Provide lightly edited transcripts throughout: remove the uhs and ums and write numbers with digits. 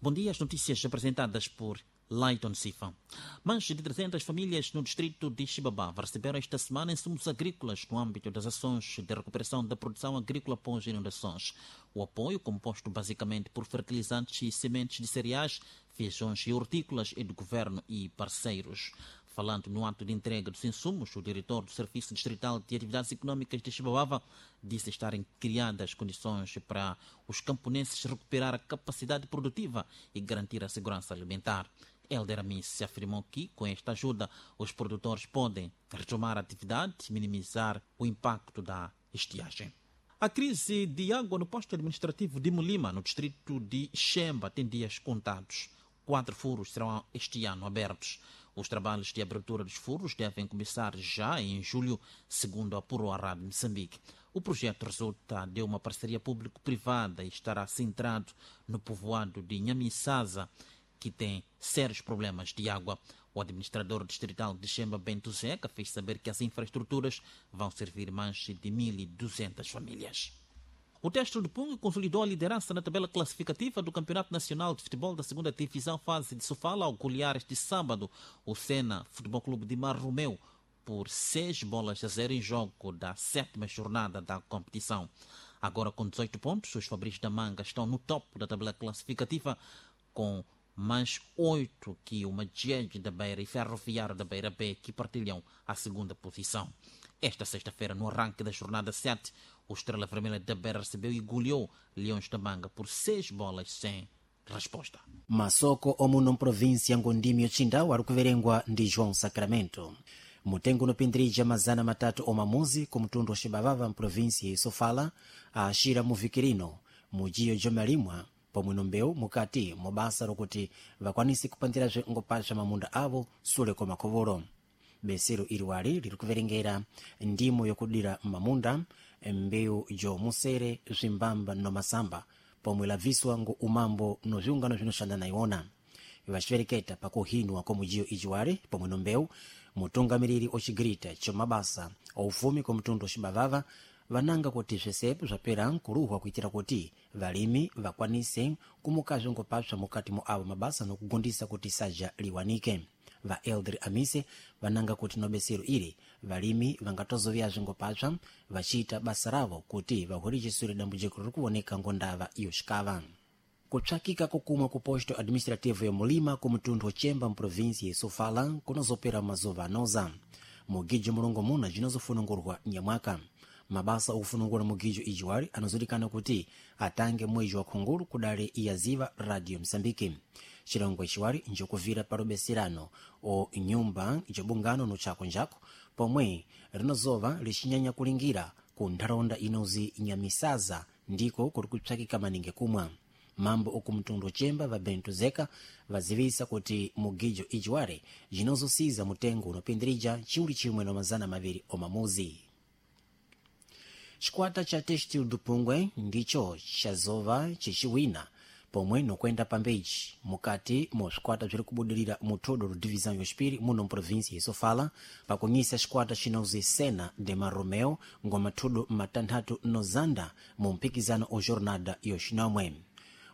Bom dia, as notícias apresentadas por Lighton Sifa. Mais de 300 famílias no distrito de Chibabava receberam esta semana insumos agrícolas no âmbito das ações de recuperação da produção agrícola pós inundações. O apoio, composto basicamente por fertilizantes e sementes de cereais, feijões e hortícolas, é do governo e parceiros. Falando no ato de entrega dos insumos, o diretor do Serviço Distrital de Atividades Econômicas de Chibabava disse estarem criadas condições para os camponeses recuperar a capacidade produtiva e garantir a segurança alimentar. Helder Amis afirmou que, com esta ajuda, os produtores podem retomar a atividade e minimizar o impacto da estiagem. A crise de água no posto administrativo de Molima, no distrito de Xemba, tem dias contados. 4 furos serão este ano abertos. Os trabalhos de abertura dos furos devem começar já em julho, segundo apurou a Rádio Moçambique. O projeto resulta de uma parceria público-privada e estará centrado no povoado de Nhamisasa, que tem sérios problemas de água. O administrador distrital de Xemba, Bento Zeca, fez saber que as infraestruturas vão servir mais de 1.200 famílias. O Teste do Pungo consolidou a liderança na tabela classificativa do Campeonato Nacional de Futebol da Segunda Divisão fase de Sofala ao golear este sábado o Sena Futebol Clube de Marromeu por 6-0 em jogo da 7ª jornada da competição. Agora com 18 pontos, os Fabris da Manga estão no topo da tabela classificativa com mais 8 que o Madjed da Beira e Ferroviário da Beira B, que partilham a segunda posição. Esta sexta-feira, no arranque da jornada 7, o Estrela Vermelha da Beira recebeu e goleou Leões da Manga por 6 bolas sem resposta. Masoko omuno mprovinsi ya Ngondimi yochindau ari kuverengwa ndi João Sacramento. Mutengo unopindirija 300 omamuzi ku mtundu wa Xibavava mprovinsi ya Sofala aashira muvikirino mujiyo jomalimwa pomwe nombewu mukati mobasa lokuti vakwanise kupandirazve ngopasha mamunda avo sule kwa makovolo. Besero iliwali liri kuverengera ndimo yokudira mamunda, mbewu jomusere, zvimbamba nomasamba pomwe laviswa ngo umambo no viungano vinoxanda na iwona. Vaxivereketa pakuhinwa kwa mujiyo ijiwali pomwe nombewu, mutungamiriri ocigirita comabasa aufumi kwa mtundu wa Xibavava vananga kuti swisepo swapera nkuluhwa kuitira kuti valimi vakwanise kumukazve ngopapsa mukati mu avo mabasa nokugondisa kuti saja liwanike. Va Elder Amise vananga kuti nobesero ili valimi vangatozoviyazve ngopapsa vaciita basa ravo kuti vahwericisure dambujiko riri kuwoneka ngondava iyo xikava. Kupsakika kokumwa ku posto administrativo ya Mulima ku mtundu wa Chemba mprovinsi ya Sofala kunozopera mazuva anoza. Mugijo mulongo muna jinozofunungurwa nyamwaka. Mabasa okufunungura mugijo ijiwali anozodikana kuti atange mwezi wa khungulu kudale iyaziva Radio Msambiki. Chilongo ichiwali njokuvira palubeserano o nyumba jobungano no chako njako pomwe rinozova lixinyanya kulingira ku ntharaunda inozi Nyamisaza ndiko kuri kupsakika maningi kumwa. Mambo oku mtundu Chemba va Bento Zeka vazivisa kuti mugijo ijiwale jinozosiza mutengo unopindirija 1200 omamuzi. Chikwata cha Textil do Pungwe ndicho chazova chichiwina pomwe nokwenda pambeji mukati mo swikwata bziri kubudirira mu thodo ro divisão yoxipiri muno mprovinsia ya Sofala pakunyisa xikwata xinozi Sena de Marromeu ngoma thudo 6 nozanda mu mpikizano o jornada yoxinomwe.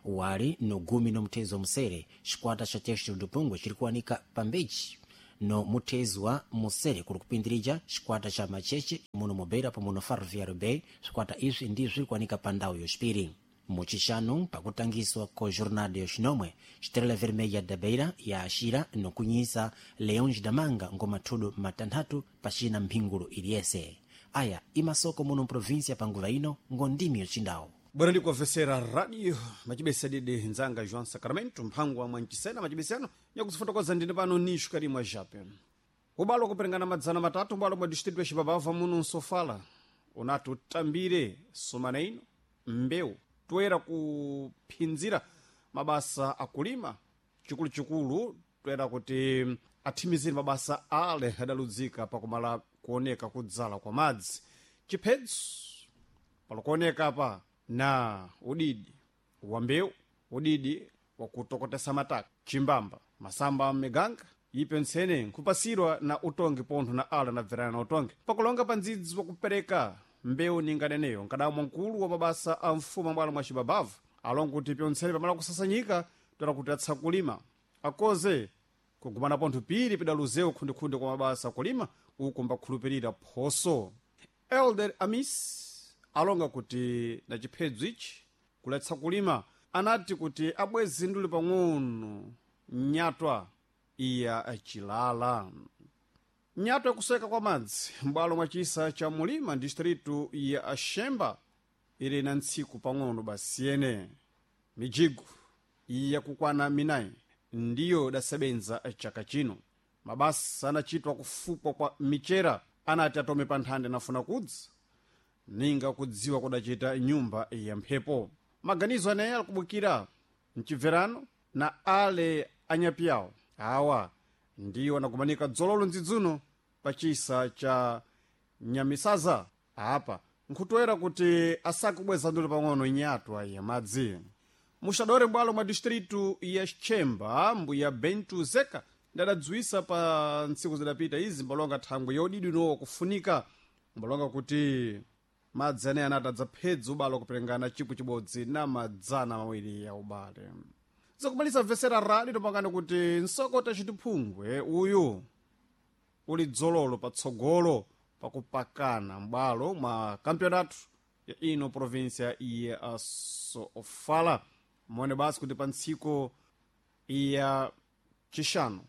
Wali no gumi no muthezo wa musere, xikwata xa Textil do Pungwe xiri kuwanika pambeji no muthezo wa musere kuri kupindirija xikwata xa Macheche muno mubeira pomwe no Ferroviário Bay. Swikwata izvi ndizvo zviri kuwanika pa ndau yoxipiri. Muchixanu pakutangiswa ko jornada yoxinomwe, Estrela Vermelha da Beira yaaxira nokunyisa Leões da Manga ngoma thudo 6 pacina mphingulu iliyese. Aya imasoko muno mprovinsia panguva ino ngondimi yoxindawo. Bwana ndikumvesera radio macibesa didi nzanga João Sacramento mphango wa mwancisena macibesano nyakuzifotokoza ndine pano nishu karimwa jape ubalo kuperengana 300 ubalo mwa distrito ya Xibabava muno nsofala unati utambire sumana ino mbewu toyera kuphinzira mabasa akulima chikuluchikulu toyera kuti athimizire mabasa ale adaludzika pakumala kuoneka kudzala kwa madzi chiphedzo palikuoneka pa na udidi wa mbewu, udidi wakutokotesa mataka, chimbamba, masamba amiganga ipe ntsene nkhupasirwa na utongi pontho na ala nabverana na utongi pakulonga pa ndzidzi wakupereka mbewu ninganeneyo nkadamwa mkulu wa mabasa a mfumu ambwalo mwa Cibabavu alonga kuti pyontsene pamala kusasanyika. toera kuti atsakulima akoze kugumana pontho piri pidaluzewo khundikhunde kwa mabasa akulima uku mbakhulupirira phoso. Elder Amis alonga kuti na chiphedzo ichi kuletsa kulima anati kuti abwezi nduli pang'ono nyatwa iya chilala. Nyatwa yakuseka kwa madzi m'bwalo mwa chisa cha mulima distritu ya Axemba ili na ntsiku pang'ono basiyene. Mijigo yakukwana minayi ndiyo idasebenza chaka chino. Mabasa anachitwa kufupwa kwa michera anati atome pa nthanda nafuna kudza ninga kudziwa kudachita nyumba ya mphepo. Maganizo aneyi alikubukira mchibverano na ale anyapiyawo awa ndiwo anakumanika dzololo ndzidzuno pa chisa cha Nyamisaza apa nkhutoera kuti asakubweza nduli pang'ono nyatwa ya madzi. Muxadore m'bwalo mwa distritu ya Xchemba mbuya Bentu Zeka ndadadziwisa pa ntsiku zidapita izi mbalonga thangwe yodidi nowa kufunika mbalonga kuti madzi aneyi anati adzaphedza ubale kuperengana chipwi chibodzi na 200 ya ubale. Zakumalisa mvesera rali topangani kuti nsokota chitiphungwe uyu uli dzololo patsogolo pakupakana m'bwalo mwa kampionato ya ino província ya Sofala. Mone basi kuti pa ntsiku ya chixanu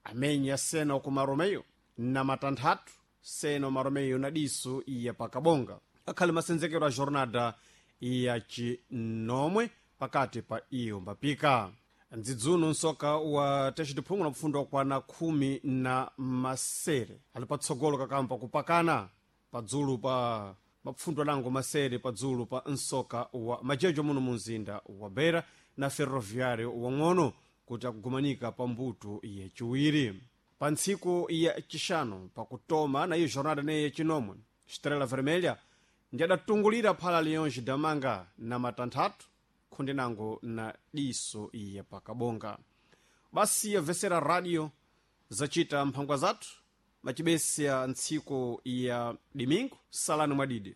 amenya sena ku Maromeyo na matanthatu sena Maromeyo na diso ya pakabonga akhali masenzekero a jornada ya chinomwe pakati pa iyo mbapika. Ndzidzuno nsoka wa texitiphungu na kupfundwa kwana khumi na masere ali patsogolo kakampa kupakana padzulu pa mapfundo anango masere padzulu pa nsoka wa majejo muno mu mzinda wa Beira na Ferroviário wang'ono kuti akugumanika pa mbuto yachiwiri. Pa ntsiku ya chixanu pakutoma na iyo jornada neyi yachinomwe Estrela Vermelha ndi adatungulira phala Leões Damanga na matanthatu khundenango na diso ya pakabonga. Basi yabvesera radio zacita mphangwa zathu macibesi ya ntsiku ya dimingu salani mwadidi.